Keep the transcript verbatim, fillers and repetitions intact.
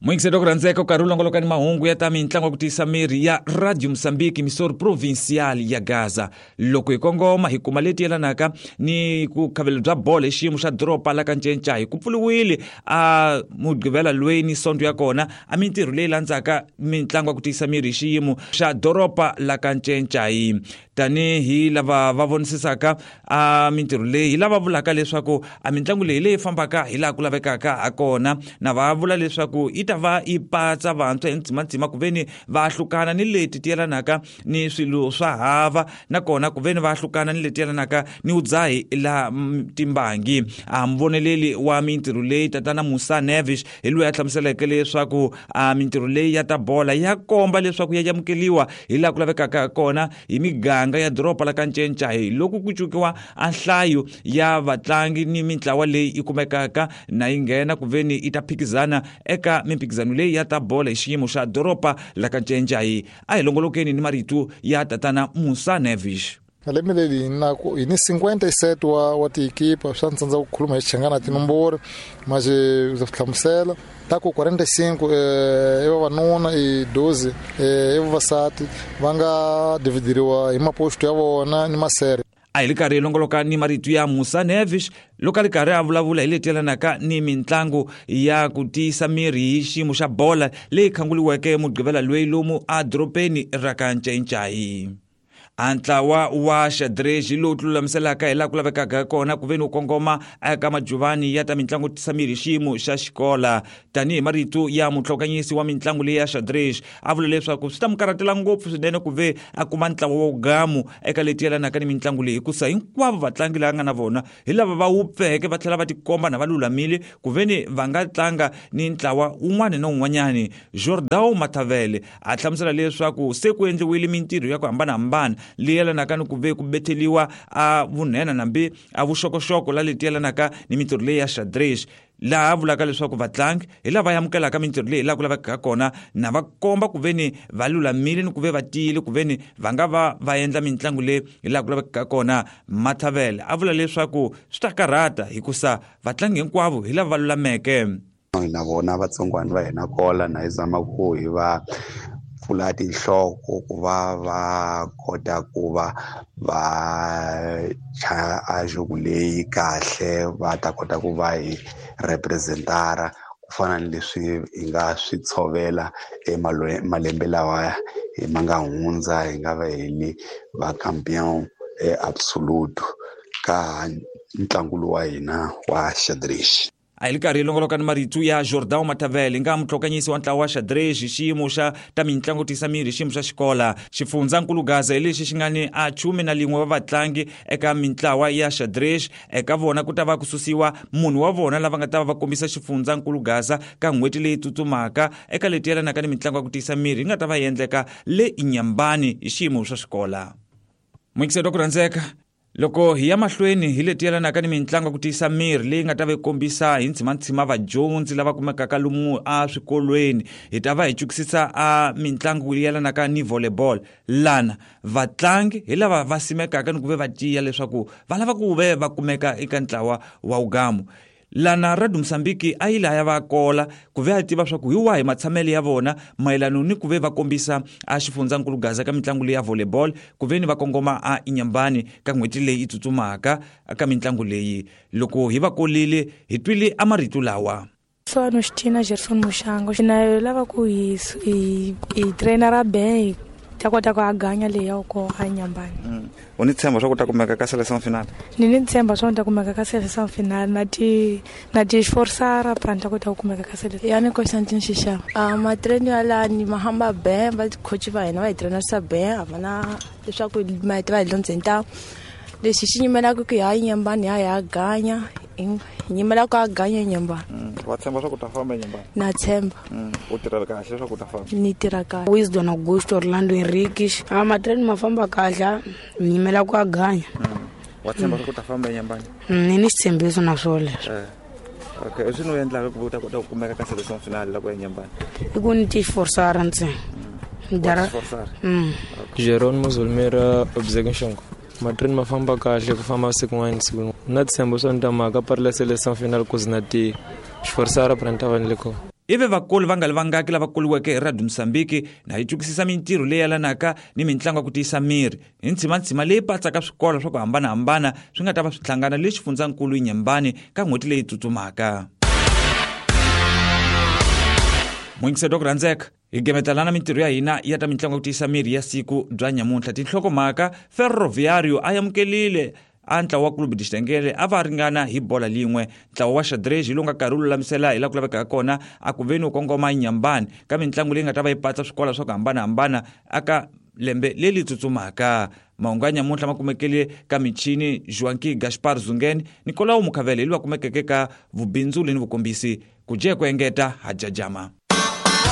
Muyingiseri ku rhandzeka u karhi u longoloka ni mahungu ya ta mitlangu ya ku tiyisa miri ya Radio Mozambique Misori Provincial ya Gaza. Loko hi kongoma hi kuma leti yelanaka ni ku khavelo bya bolo hi xiyimo xa doroba la ka Ncencai ku pfuriwile a mugqivela loyi ni sonto ya kona a mintirho leyi landzaka mitlangu ya ku tiyisa miri hi xiyimo xa doroba la ka Ncencai. Tanihi lava va vonisisaka a mintirho leyi hi lava vulaka leswaku a mitlangu leyi leyi fambaka hi laha ku lavekaka ha kona na va vula leswaku yi ta va yi patsa vantshwa hi ndzimandzima ku veni va hlukana ni leti ti yelanaka ni swilo swa hava nakona ku veni va hlukana ni leti yelanaka ni vudzahi la timbangi. A muvoneleli wa mintirho leyi tatana Musa Nevis hi loyi a hlamuseleke leswaku a mintirho leyi ya ta bola ya komba leswaku ya amukeliwa hi laha ku lavekaka ha kona hi miganga ya doroba la ka Ncencai loko ku cukiwa a nhlayo ya vatlangi ni mintlawa leyi yi kumekaka na yi nghena ku veni yi ta phikizana eka mimphikizano leyi ya ta bola hi xiyimo xa doroba la ka Ncencai. A hi longolokeni ni marito ya tatana Musa Nevis. Lembe leri hi na hi ni cinquenta e sete wa wa tiekipa swa ntsandza ku khuluma hi Xichangana tinomboro mas ndza swi hlamusela ta ku quarenta e cinco i vavanuna i doze i vavasati va nga dividiriwa hi maposto ya vona ni masere. A hi ri karhi hi longoloka ni marito ya Musa Nevis loko a ri karhi a vulavula hi leti yelanaka ni mitlangu ya ku tiyisa miri hi xiyimo xa bola leyi khanguriweke mugqivela loyi lomu edorobeni ra ka Ncencai. A ntlawa wa xadrez lowu tilulamiselaka hi laha ku lavekaka kona ku veni wu kongoma eka majuvani ya ta mitlangu tisa miri xiyimo xa xikola. Tanihi marito ya mutlhokanyisi wa mitlangu leyi ya xadrez a vula leswaku swi ta mu karhatela ngopfu swinene ku ve a kuma ntlawa wa gamu eka leti yelanaka ni mitlangu leyi hikusa hinkwavo vatlangi lava nga na vona hi lava va wupfeke va tlhela va tikomba na va lulamile ku veni va nga tlanga ni ntlawa wun'wana na wun'wanyani. Jordão Matavele a hlamusela leswaku se ku endliwile mintirho ya ku hambanahambana leyi yelanaka ni ku ve ku betheliwa a vunhena nambi a vuxokoxoko la leti yelanaka ni mintirho leyi ya xadrez laha vulaka leswaku vatlangi hi lava amukelaka mintirho leyi laha ku lavekaka kona na va komba ku veni va lulamile ni ku ve va tiyile ku veni va nga va va endla mitlangu leyi hi laha ku lavekaka kona. Matavele a vula leswaku swi ta karhata hikusa vatlangi hinkwavo hi lava va lulameke. Na vona vatsongwana va hina kola na hi zama ku hi va pfula tinhloko ku va va kota ku va va chaya a jogo leyi kahle va ta kota ku va hi representara ku fana ni leswi hi nga swi tshovela emalembe lawa hi ma nga hundza hi nga va hi li va campeon absolute ka ntlangu lowu wa hina wa xadrez. A hi ri karhi hi longoloka ni marito ya Jordão Matavele nga mutlhokanyisi wa ntlawa wa xadrez hi xiyimo xa ta mitlangu tiyisa miri hi xiyimo xa xikola. Xifundzankulu Gaza hi lexi xi nga ni a chume na lin'we wa vatlangi eka mintlawa ya xadrez eka vona ku ta va ku susiwa munhu wa vona lava nga ta va va kombisa xifundzankulu Gaza ka n'hweti leyi tsutsumaka eka leti yelanaka ni mitlangu ya ku tiyisa miri yi nga ta va yi endleka le Inyambani hi xiyimo xa xikola. Muyingiseri wa ku rhandzeka loko hi ya mahlweni hi leti yelanaka ni mitlangu ya ku tiyisa miri leyi nga ta va yi kombisa hi ndzimandzima vadyondzi lava kumekaka lomu eswikolweni hi ta va hi cukisisa a mitlangu leyi yelanaka ni volleyball lana vatlangi hi lava va simekaka ni ku ve va tiya leswaku va lava ku ve va kumeka eka ntlawa wa ugamu. Lana Radio Mozambique a yi laya va kola ku ve a tiva swa ku hi wahi matshamelo ya vona mayelano ni ku ve va kombisa a xifundzankulu Gaza ka mitlangu leyi ya volleyball ku ve ni va kongoma a Inyambani ka n'hweti leyi yi tsutsumaka ka mitlangu leyi. Loko hi va kolile hi twile a marito lawa. Sono Xtina Gerson Mushango na lava ku hi hi hi trainera ben ta kota ku aganya leyi ya ko a Inyambani. U ni tshemba swa ku ta kumeka ka seleção final? Ni ni tshemba swa ku ta kumeka ka seleção final na ti na ti esforçar pra ta kota ku kumeka ka seleção. Ya ni Constantine Xixava. A matreno ya la ni mahamba ben va coach va hina va hi trainera ben a va na leswaku ma va hi dyondzeni ta lexi xi nyimelaka ku ya Inyambani ya ya ganya hi nyimela ku a ganya Inyambani. Wa tshemba swa ku ta famba Inyambani? Na tshemba. U tirha kahle leswaku u ta famba? Ni tirha kahle. Wisdom Augusto Orlando Henriques. A matreno ma famba kahle ni nyimela ku a ganya. Wa tshemba swa ku ta famba Inyambani? Ni ni xitshembiso na swo leswo. Okay, swi no endlaka ku u ta kota ku kumeka ka seleção final loko ya Inyambani? I ku ni ti esforçar ntsena. Dara. Jerónimo Zulmira Obzegunshongo. Matreno ma famba kahle ku famba siku n'wana siku n'wana. Na tshembo swa ni ta mhaka pari la seleção final ku zi na ti esforçar pra ni ta va ni le kona. Ive vakulu va nga li vangaki lava kuliweke hi Radio Mozambique na yi tsukisisa mintirho leyi yelanaka ni mintlangu ya ku tiyisa miri hi ntshimantshima leyi patsaka swikolo swa ku hambanahambana swi nga ta va swi hlangana le xifundzankulu Inhambane ka n'hweti leyi tsutsumaka. Muyingiseri wa ku rhandzeka, hi gemetelana mintirho ya hina ya ta mitlangu ya ku tiyisa miri ya siku bya nyamuntlha. Tinhlokomhaka: Ferroviario a amukelile a ntlawa wa Clube de Xitengele a va ringana hi bola lin'we. Ntlawa wa xadrez hi lowu nga karhi wu lulamisela hi laha ku lavekaka kona a ku veni wu kongoma Inhambane ka mitlangu leyi nga ta va yi patsa swikolo swa ku hambanahambana aka lembe leri tsutsumaka. Mahungu ya nyamuntlha ma kumekele ka michini Joaquim Gaspar Zungen, Nicolau Mukhavele hi loyi a kumekeke ka vubindzuli ni vukombisi. Ku jeka ku engeta ha jajama.